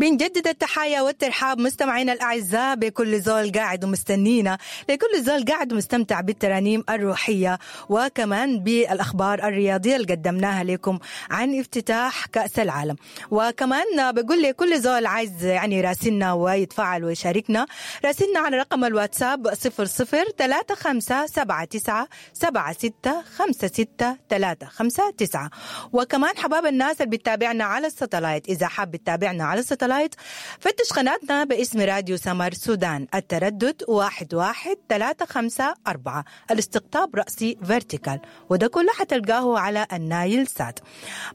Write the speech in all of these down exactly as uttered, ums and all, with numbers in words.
بنجدد التحايا والترحاب مستمعينا الأعزاء بكل زول قاعد ومستنينا، لكل زول قاعد ومستمتع بالترانيم الروحية وكمان بالأخبار الرياضية اللي قدمناها لكم عن افتتاح كأس العالم. وكمان بقول لكل زول عايز يعني يراسلنا ويتفاعل ويشاركنا، راسلنا على رقم الواتساب صفر صفر ثلاثة خمسة سبعة تسعة سبعة ستة خمسة ستة ثلاثة خمسة تسعة. وكمان حباب الناس اللي بتتابعنا على الستلايت، إذا حاب تتابعنا على الستلايت فتش قناتنا باسم راديو سمر سودان، التردد واحد واحد ثلاثة خمسة أربعة، الاستقطاب رأسي vertical، وده كله حتلقاه على النايل سات.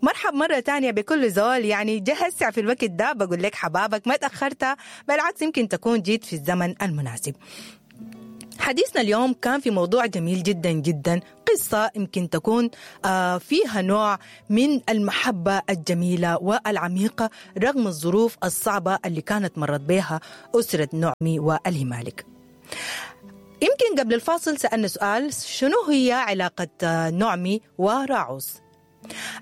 مرحب مرة تانية بكل زول يعني جهز في الوقت ده، بقول لك حبابك ما تأخرت، بالعكس يمكن تكون جيت في الزمن المناسب. حديثنا اليوم كان في موضوع جميل جدا جدا، قصة يمكن تكون فيها نوع من المحبة الجميلة والعميقة رغم الظروف الصعبة اللي كانت مرت بها أسرة نعمي والهمالك. يمكن قبل الفاصل سألنا سؤال، شنو هي علاقة نعمي وراعوس؟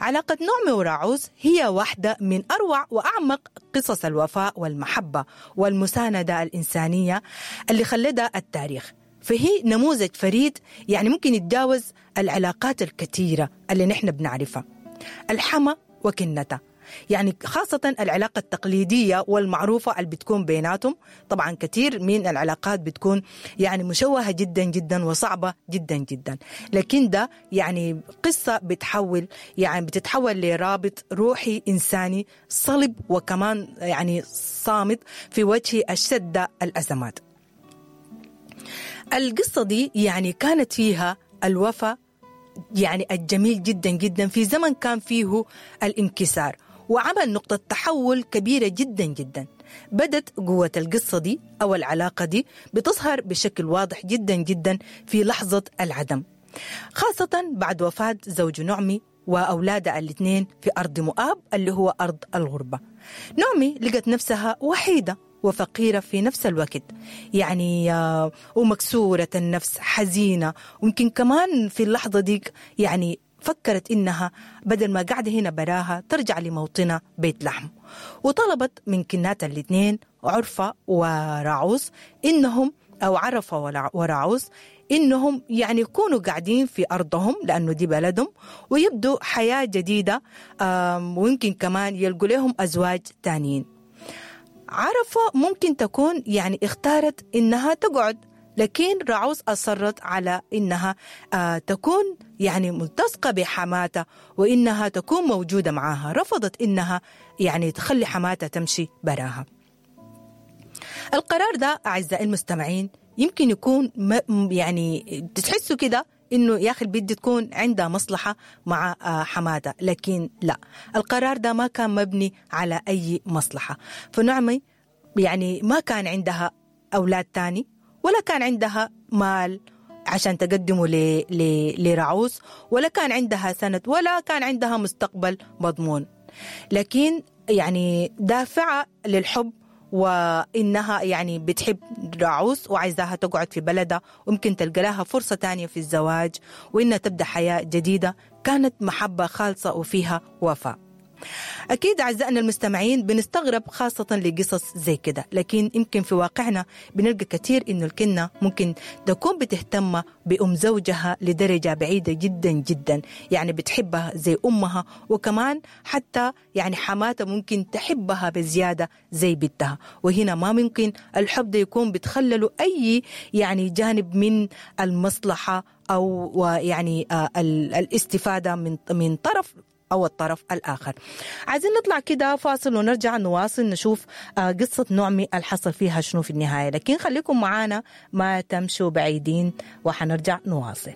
علاقة نعمي وراعوس هي واحدة من أروع وأعمق قصص الوفاء والمحبة والمساندة الإنسانية اللي خلدها التاريخ، فهي نموذج فريد يعني ممكن يتجاوز العلاقات الكثيرة اللي نحن بنعرفها. الحما وكنتها، يعني خاصة العلاقة التقليدية والمعروفة اللي بتكون بيناتهم، طبعا كثير من العلاقات بتكون يعني مشوهة جدا جدا وصعبة جدا جدا، لكن ده يعني قصة بتحول يعني بتتحول لرابط روحي إنساني صلب وكمان يعني صامت في وجه أشد الأزمات. القصة دي يعني كانت فيها الوفاء يعني الجميل جدا جدا في زمن كان فيه الانكسار، وعمل نقطة تحول كبيرة جدا جدا. بدت قوة القصة دي أو العلاقة دي بتظهر بشكل واضح جدا جدا في لحظة العدم، خاصة بعد وفاة زوج نعمي وأولادها الاثنين في أرض مؤاب اللي هو أرض الغربة. نعمي لقت نفسها وحيدة وفقيرة في نفس الوقت، يعني ومكسورة النفس، حزينة، ويمكن كمان في اللحظة ديك يعني فكرت إنها بدل ما قاعدة هنا براها ترجع لموطنها بيت لحم. وطلبت من كنات الاثنين عرفة وراعوس إنهم أو عرفة وراعوس إنهم يعني يكونوا قاعدين في أرضهم لأنه دي بلدهم، ويبدوا حياة جديدة، ويمكن كمان يلقوا لهم أزواج تانيين. عرفة ممكن تكون يعني اختارت إنها تقعد، لكن راعوس أصرت على إنها آه تكون يعني ملتصقة بحماتها وإنها تكون موجودة معاها، رفضت إنها يعني تخلي حماتها تمشي براها. القرار ده أعزائي المستمعين يمكن يكون يعني تحسوا كده إنه يا أخي البنت تكون عندها مصلحة مع حماتها، لكن لا، القرار ده ما كان مبني على أي مصلحة. فنعمي يعني ما كان عندها أولاد تاني ولا كان عندها مال عشان تقدمه لرعوس، ولا كان عندها سند، ولا كان عندها مستقبل مضمون، لكن يعني دافعة للحب وإنها يعني بتحب راعوس وعايزاها تقعد في بلدها ويمكن تلقى لها فرصة تانية في الزواج وإنها تبدأ حياة جديدة. كانت محبة خالصة وفيها وفاء. أكيد أعزائنا المستمعين بنستغرب خاصة لقصص زي كده، لكن يمكن في واقعنا بنلقى كثير إنه الكنة ممكن تكون بتهتم بأم زوجها لدرجة بعيدة جدا جدا، يعني بتحبها زي أمها، وكمان حتى يعني حماتها ممكن تحبها بزيادة زي بنتها. وهنا ما ممكن الحب ده يكون بتخلله أي يعني جانب من المصلحة أو يعني الاستفادة من من طرف أو الطرف الآخر. عايزين نطلع كده فاصل ونرجع نواصل نشوف قصة نعمي الحصل فيها شنو في النهاية، لكن خليكم معانا ما تمشوا بعيدين وحنرجع نواصل.